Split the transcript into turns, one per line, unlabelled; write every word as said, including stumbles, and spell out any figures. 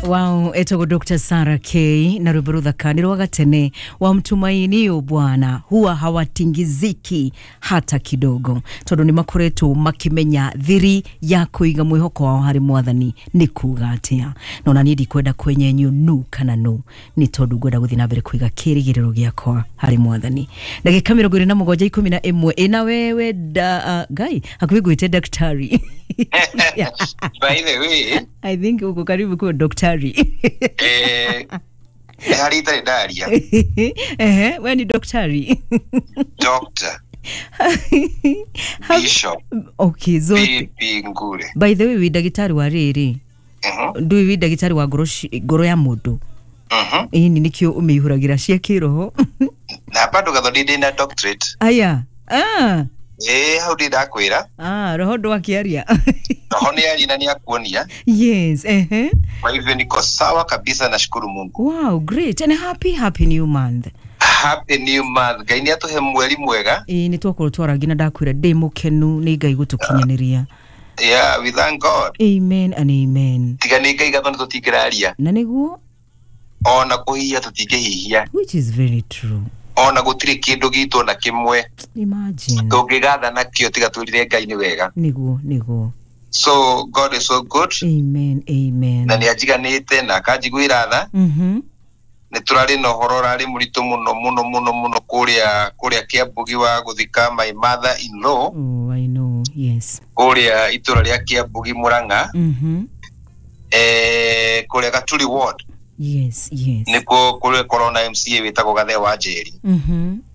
Wow, etagwo Doctor Sarah K na rwimbo ruthaka nĩ rwa gatene wa mtumainio Bwana huwa hawatingiziki hata kidogo, tondu nĩ makoretwo makimenya thiri ya kuiga mwihoko wao harĩ Mwathani nĩ kuga atia. Na ona niĩ ndikwenda kwenyenyio nu kana nu, nĩ tondu ngwenda gũthiĩ na mbere kuiga kĩrĩgĩrĩro gĩakwa harĩ Mwathani. Ndagĩka mĩrongo ĩrĩ na mũgwanja ikũmi na ĩmwe ĩna wewe da, uh, ngai hakuhĩ ngwĩte daktari.
By the way,
I think uko karibu kuwa daktari.
Eh, nĩ harĩ itarĩ ndaria.
Ehe, we ni daktari.
Doctor,
How-
Bishop,
Okay, zote.
B P Ngure.
By the way, wi ndagĩtarĩ wa rĩrĩ,
Mhm,
ndũĩ wi ndagĩtarĩ wa ngoro ci- ngoro ya mũndũ?
mhm.
Ĩni nĩkĩo ũmĩihũragĩra cia kĩroho.
Na bado Gathoni ndĩ na doctorate.
Aya, ah,
Ĩ hau ndĩ ndakwĩra.
Ah, roho ndwakĩaria.
Roho nĩ aria na nĩ akuonia.
Yes, ehe.
Kwa hivyo niko sawa kabisa, nashukuru Mungu.
Wow, great and happy happy new month.
Happy new month. Ngai nĩ atũhe mweri mwega.
Ĩĩ, nĩ twakorwo twarangi na ndakwĩra ndĩ mũkenu nĩ Ngai gũtũkinyanĩria.
Yeah, we thank God.
Amen and amen.
Tiga nĩ Ngai, Gathoni, tũtingĩraria.
Na nĩguo.
Ona kũhihia tũtingĩhihia.
Which is very true.
Ona gũtirĩ kĩndũ gitũ ona kĩmwe
Imagine.
tũngĩgatha nakĩo tiga twĩrire Ngai nĩ wega.
Nĩguo, nĩguo.
So God is so good.
Amen, amen.
Na nĩ anjiganĩte na akanjiguĩra tha.
Mhm.
Nĩ tũrarĩ na ũhoro ũrarĩ mũritũ mũno mũno mũno mũno kũrĩa kũrĩa Kĩambugi wa gũthika my mother in law.
Oh, I know. Yes.
Kũrĩa itũra rĩa Kĩambugi, Mũrang'a,
Mhm.
eh, kũrĩa Gaturi ward.
Yes, yes.
Nĩkuo kũrĩa korwo na M C A wĩtagwo Gathe wa Njeri.
Mhm.